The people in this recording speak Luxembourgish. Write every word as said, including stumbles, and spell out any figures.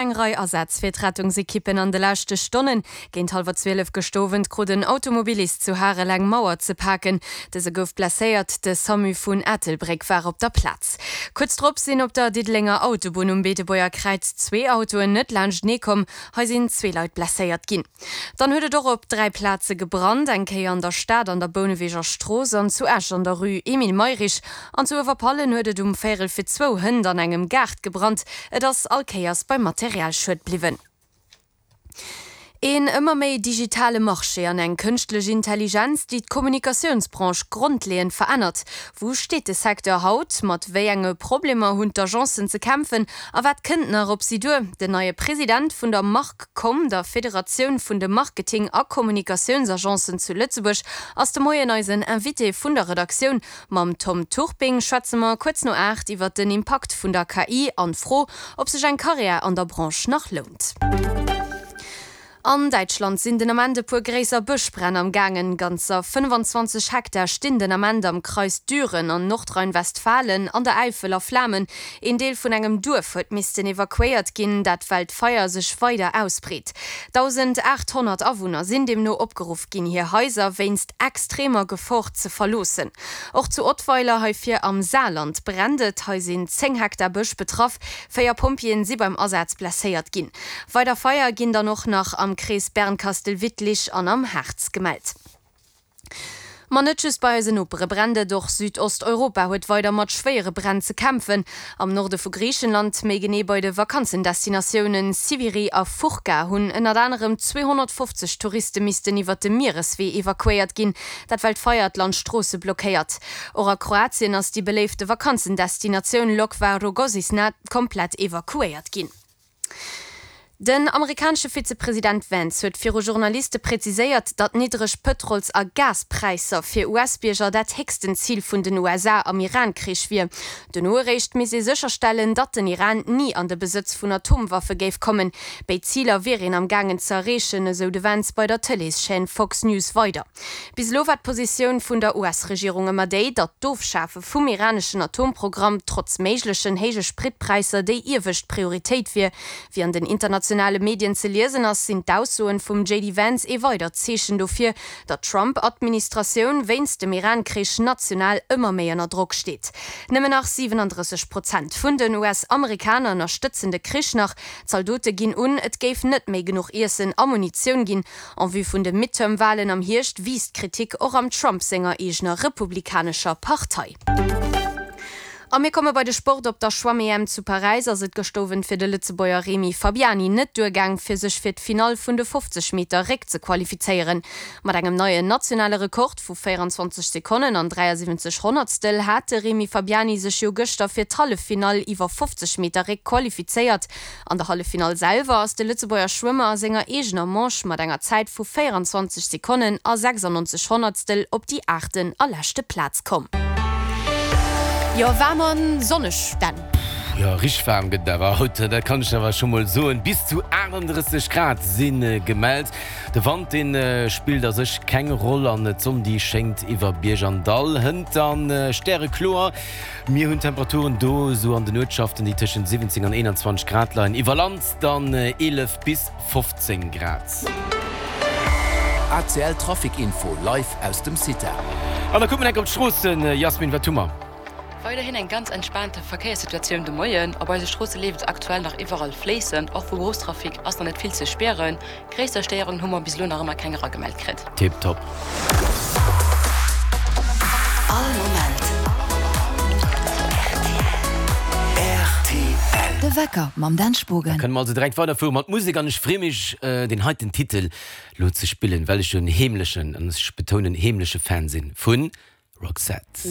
Eng Rei Asätz fir d'Rettungsekippen an de leschte Stonnen. Géint hallwer zwielef gëscht Owend krut en Automobilist zu Harel eng Mauer ze paken. Dëse gouf blesséiert, de Samu vun Ettelbréck war op der Plaz. Kuerz drop sinn op der Diddelenger Autobunn um Beetebuerger Kräiz zwee Autoen net laanschtenee komm. Hei sinn zwee Leit blesséiert ginn. Dann huet et och op dräi Plaze gebrannt, eng Kéier an der Stad an der Bouneweger Strooss an zu Esch an der Rue Emile Mayrisch. An zu Uewerpallen huet et um Véierel fir zwou hënt an engem Gaart gebrannt. Et ass all Kéiers beim Materialschued bliwwen. Een ëmmer méi digitale Marché an eng kënschtlech Intelligenz, déi d'Kommunikatiounsbranche grondleeënd verännert. Wou steet de Secteur haut? Mat wéi enge Problemer hunn d'Agencen ze kämpfen? A wat kënnt nach op si duer? Den neie President vun der MarkCom, der Federatioun vun de Marketing a Kommunikatiounsagencen zu Lëtzebuerg, ass de Moien eisen Invité vun der Redaktioun. Mam Tom Turping schwätze mer kuerz no aacht iwwer den Impakt vun der K I an d'Fro, ob sech eng Karriär an der Branche nach lount. An Däitschland sinn den Ament e puer gréisser Bëschbränn am gaangen. Ganzer fënnfanzwanzeg Hektar stinn den Ament am Kreis Düren an Nordrhein-Westfalen an der Äifel a Flamen. Een Deel vun engem Duerf huet missten evakuéiert ginn, dat well d'Feier sech weider ausbreet. Dausendachthonnert Awunner sinn deemno opgeruff ginn, hir Haiser wéinst extremer Gefor ze verloossen. Och zu Ottweiler, hei vir am Saarland, brennt et. Hei sinn zéng Hektar Bësch betraff. Véier Pompjeeën si beim Asaz blesséiert ginn. Weider Feier ginn dann och nach am Krees Bernkastel-Wittlich an am Harz gemellt. Ma net just bei eisen Nopere brennt et, och Südosteuropa huet weider mat schwéiere Bränn ze kämpfen. Am Norde vu Griichenland, méi genee bei de Vakanzendestinatiounen Siviri a Fourka, hunn ënnert anerem zweehonnertfofzeg Touriste missten iwwer de Miereswee evakuéiert ginn, dat well d'Feier d'Landstroosse blockéiert. Och a Kroatien ass déi beléifte Vakanzendestinatioun Lokva Rogozina komplett evakuéiert ginn. Den amerikanesche Vizepresident Vance huet viru Journaliste präziséiert, datt niddreg Pëtrols a Gaspräisser fir U S-Bierger dat héchsten Zil vun den U S A am Iran-Krich wier. Dono eréischt misst ee sécherstellen, datt den Iran ni an de Besëtz vun Atomwaffe géif kommen. Béid Ziler wier een am gaangen ze erreechen, esou de Vance bei der Tëleeschaîne Fox News weider. Bis elo war d'Positioun vun der U S-Regierung ëmmer déi, datt d'Ofschafe vum iraneschen Atomprogramm trotz méiglechen héije Spritpräisser déi iewescht Prioritéit wier. Wéi an den internationale Medien ze liesen ass, sinn d'Aussoen vum J D Vance ee weidert Zeechen dofir, datt d'Trump-Administratioun wéinst dem Iran-Krich national ëmmer méi ënner Drock steet. Nëmmen nach siwenandrësseg Prozent vun den U S-Amerikaner ënnerstëtzen de Krich nach. D'Zaldote ginn un, et géif net méi genuch Iessen a Munitioun ginn. En vue vun de Midterm-Walen am Hierscht wiisst d'Kritik och am Trump senger eegener republikanescher Partei. A mir komme bei de Sport. Op der Schwamm-E M zu Paräis ass et gëscht Owend fir de Lëtzebuerger Remy Fabiani net duergaang, fir sech fir d'Finall vun de fofzeg Meter Réck ze qualifizéieren. Mat engem neien nationale Rekord vu véierenzwanzeg Sekonnen an dräiasiwwenzeg Honnertstel hat de Remy Fabiani sech jo gëschter fir d'Halleffinall iwwer fofzeg Meter Réck qualifizéiert. An der Halleffinall selwer ass de Lëtzebuerger Schwëmmer a senger eegener Manche mat enger Zäit vu véierenzwanzeg Sekonnen a sechsannonzeg Honnertstel op déi aachten a leschte Plaz komm. Jo, waarm an sonneg dann. Jo, richteg waarm gëtt et awer haut, dat kann ech awer scho mol soen. Bis zu aachtanddrësseg Grad si gemellt. De Wand, dee spillt a sech keng Roll an d'Sonn, déi schéngt iwwer Bierg an Dall. Hënt dann stärekloer. Mir hunn Temperaturen do esou an den Uertschaften, déi tëschent siwwenzéng an eenanzwanzeg Grad leien, iwwer Land dann eelef bis fofzéng Grad. A C L Trafic Info live aus dem CITA. An da kucke mer enk op d'Stroossen. Jasmin, wat hu mer? Weiderhin eng ganz entspaante Verkéierssituatioun de Moien. Op eise Stroosse leeft et aktuell nach iwwerall fléissend. Och vu Berufstrafic ass nach net vill ze spieren. Gréisser Stéierungen hu mer bis elo nach ëmmer keng eragemellt kritt. Tiptop. All Moment R T L. De Wecker mam Dan Spogen. Da kënne mer also direkt weiderfuere mat Musek an ech freeë mech, deen heiten Titel lo ze spillen, well ech jo en heemlechen, an ech betounen heemleche Fan sinn vu Roxette.